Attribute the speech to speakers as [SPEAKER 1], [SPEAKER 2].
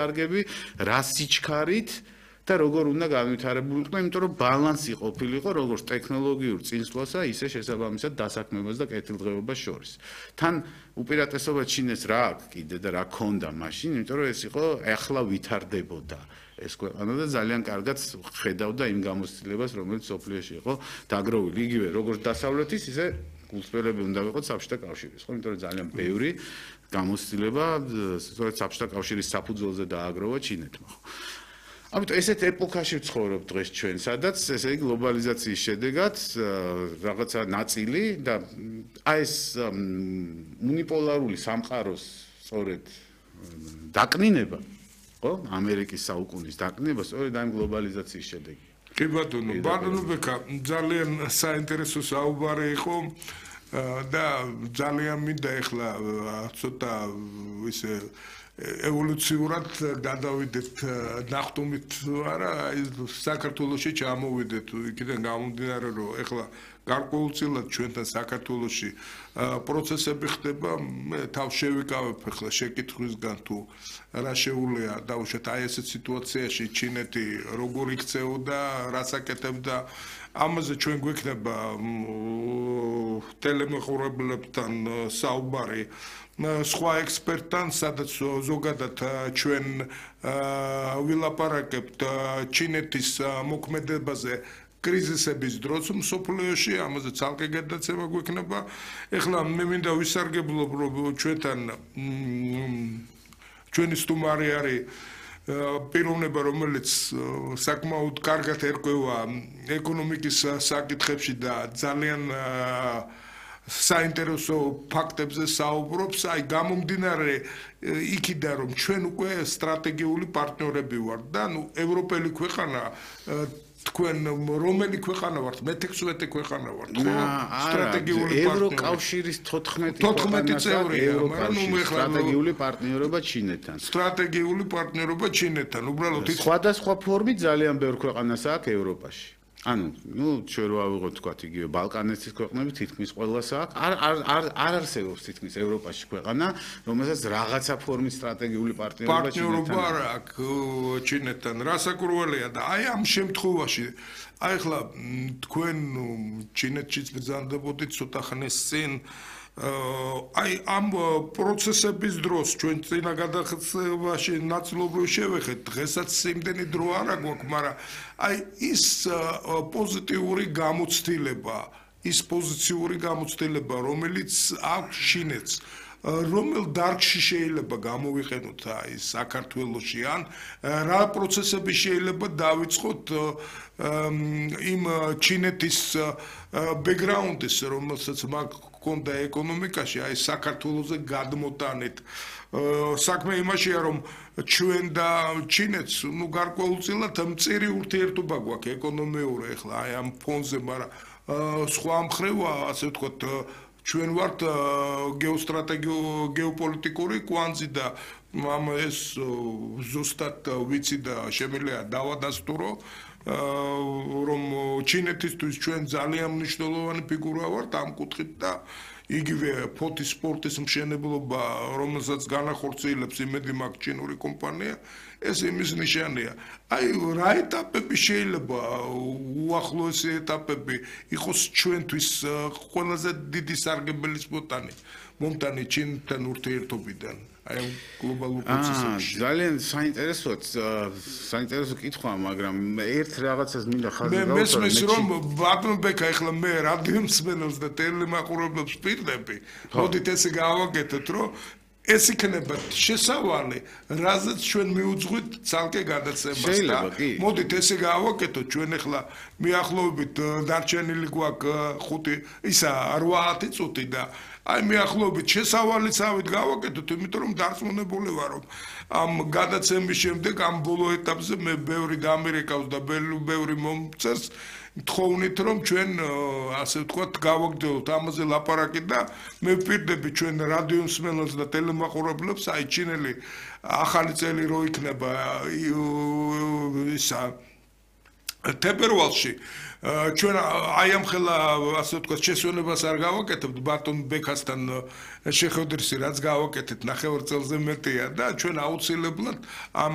[SPEAKER 1] კარგები, რა სიჩქარით და როგორ უნდა განვითარებულიყო, იმიტომ რომ ბალანსი ყოფილიყო როგორც ტექნოლოგიურ წინსვლასა, ისე შესაბამისად დასაქმებას და კეთილდღეობას შორის. თან უპირატესობა ჩინეს რა აქვს კიდე და რა ქონდა მაშინ, იმიტომ რომ ეს იყო ახლა ვითარდებოდა ეს ქვეყანა და ძალიან კარგად ხედავდა იმ გამოცდილებას, რომელიც სოფლიოში იყო დაგროვილი. იგივე როგორც დასავლეთის, ისე გულწრფელები უნდა ვიყოთ საბჭოთა კავშირის, ხო? იმიტომ რომ ძალიან ბევრი გამოცდილება სწორედ საბჭოთა კავშირის საფუძველზე დააგროვა ჩინეთმა, ხო? ამიტომ ესეთ ეპოქაში ვცხოვრობ დღეს ჩვენ, სადაც ესე იგი გლობალიზაციის შედეგად რაღაცა ნაწილი და აი ეს უნიპოლარული სამყაროს სწორედ დაკნინება, ხო? ამერიკის საუკუნის დაკნინება სწორედ აი გლობალიზაციის შედეგი.
[SPEAKER 2] კი ბატონო ბექა, ძალიან საინტერესო საუბარი იყო და ძალიან მინდა ეხლა ცოტა ისე ევოლუციურად გადავიდეთ ნახტომით არა საქართველოში ჩამოვიდეთ იქიდან გამომდინარე რომ ეხლა გარკვეულწილად ჩვენთან საქართველოში პროცესები ხდება მე თავს შევიკავებ ეხლა შეკითხვისგან თუ რა შეუძლია დავუშვათ აი ესეთ სიტუაციაში ჩინეთი როგორ იქცეოდა რას აკეთებდა ამაზე ჩვენ გვექნება ტელემოხურებლებთან საუბარი სხვა ექსპერტთან, სადაც ზოგადად ჩვენ ვილაპარაკებთ ჩინეთის მოქმედებაზე კრიზისების დროს მსოფლიოში, ამაზე ცალკე გადაცემა გვექნება. ეხლა მე მინდა ვისარგებლობ, რომ ჩვენთან ჩვენი სტუმარი არის პიროვნება, რომელიც საკმაოდ კარგად ერკვევა ეკონომიკის საკითხებში და ძალიან საინტერესო ფაქტებზე საუბრობს, აი გამომდინარე იქიდან რომ ჩვენ უკვე სტრატეგიული პარტნიორები ვართ და ნუ ევროპელი ქვეყანა თქვენ რომელი ქვეყანა ვართ? მე-16 ქვეყანა ვართ, ხო?
[SPEAKER 1] სტრატეგიული ევროკავშირის 14
[SPEAKER 2] წევრია,
[SPEAKER 1] მაგრამ ნუ მე სტრატეგიული პარტნიორობა ჩინეთთან.
[SPEAKER 2] სტრატეგიული პარტნიორობა ჩინეთთან, უბრალოდ
[SPEAKER 1] სხვადასხვა ფორმით ძალიან ბევრ ქვეყანას აქვს ევროპაში. ანუ ნუ ჩვენ რო ავიღოთ თქვა იგივე ბალკანეთის ქვეყნები თითქმის ყველას აქვს არ არსებობს თითქმის ევროპაში ქვეყანა რომელსაც რაღაცა ფორმის სტრატეგიული
[SPEAKER 2] პარტნიორობა აქვს ჩინეთთან რასაკურველია და აი ამ შემთხვევაში აი ახლა თქვენ ჩინეთშიც ბრძანდებოდით ცოტა ხნის წინ აი ამ პროცესების დროს ჩვენ წინა გადახდაში ნაწილობრივ შევეხეთ დღესაც იმდენი დრო არ აქვს მაგრამ აი ის პოზიტიური გამოცდილება ის პოზიციური გამოცდილება რომელიც აქვს ჩინეთს რომელ დარგში შეიძლება გამოვიყენოთ აი საქართველოში ან რა პროცესები შეიძლება დავიწყოთ იმ ჩინეთის ბექგრაუნდის რომელსაც მაქონდა ეკონომიკაში აი საქართველოზე გადმოტანეთ საქმე იმაშია რომ ჩვენ და ჩინეთს ნუ გარკვეულწილად მწირი ურთიერთობა გვაქვს ეკონომიური ახლა აი ამ ფონზე მაგრამ სხვა მხრივ ასე ვთქვათ ჩვენ ვართ გეოპოლიტიკური კვანძი და ამ ეს ზუსტად ვიცი და შემიძლია დავადასტურო რომ ჩინეთისთვის ჩვენ ძალიან მნიშვნელოვანი ფიგურა ვართ ამ კუთხით და იგივე ფოთის სპორტის მშენებლობა რომელსაც განახორციელებს იმედი მაქვს ჩინური კომპანია ეს იმის ნიშანია აი რა ეტაპები შეიძლება უახლოესი ეტაპები იყოს ჩვენთვის ყველაზე დიდი სარგებლის მომტანი ჩინთან ურთიერთობიდან აი გლობალურ პროცესებში
[SPEAKER 1] ძალიან საინტერესო კითხვაა მაგრამ ერთ რაღაცას მინდა ხაზი გავუსვა
[SPEAKER 2] მე მესმის რომ ბატონ ბექა ახლა მე რადიო მსმენელს და ტელემაყურებლებს ვპირდები მოდით ესე გავაკეთოთ რომ ეს იქნება შესავალი რაზეც ჩვენ მიუძღვით ცალკე გადაცემას და მოდით ესე გავაკეთოთ ჩვენ ახლა მიახლოებით დარჩენილი გვაქვს 8 წუთი და აი მიახლოებით შესავალიცავით გავაკეთოთ იმიტომ რომ დარწმუნებული ვარ რომ ამ გადაცემის შემდეგ ამ ბოლო ეტაპზე მე ბევრი დამირეკავს და ბევრი მომწერს თხოვნით რომ ჩვენ ასე ვთქვათ გავაგრძელოთ ამაზე ლაპარაკი და მე ვპირდები ჩვენ რადიო მსმენელს და ტელემაყურებლებს აი ჩინელი ახალი წელი რო იქნება ისა თებერვალში ჩვენ აი ამ ხელა ასე ვთქვათ შესვენებას არ გავაკეთებთ ბატონ ბექასთან შეხვედრისი რაც გავაკეთეთ 9 წელზე მეტია და ჩვენ აუცილებლად ამ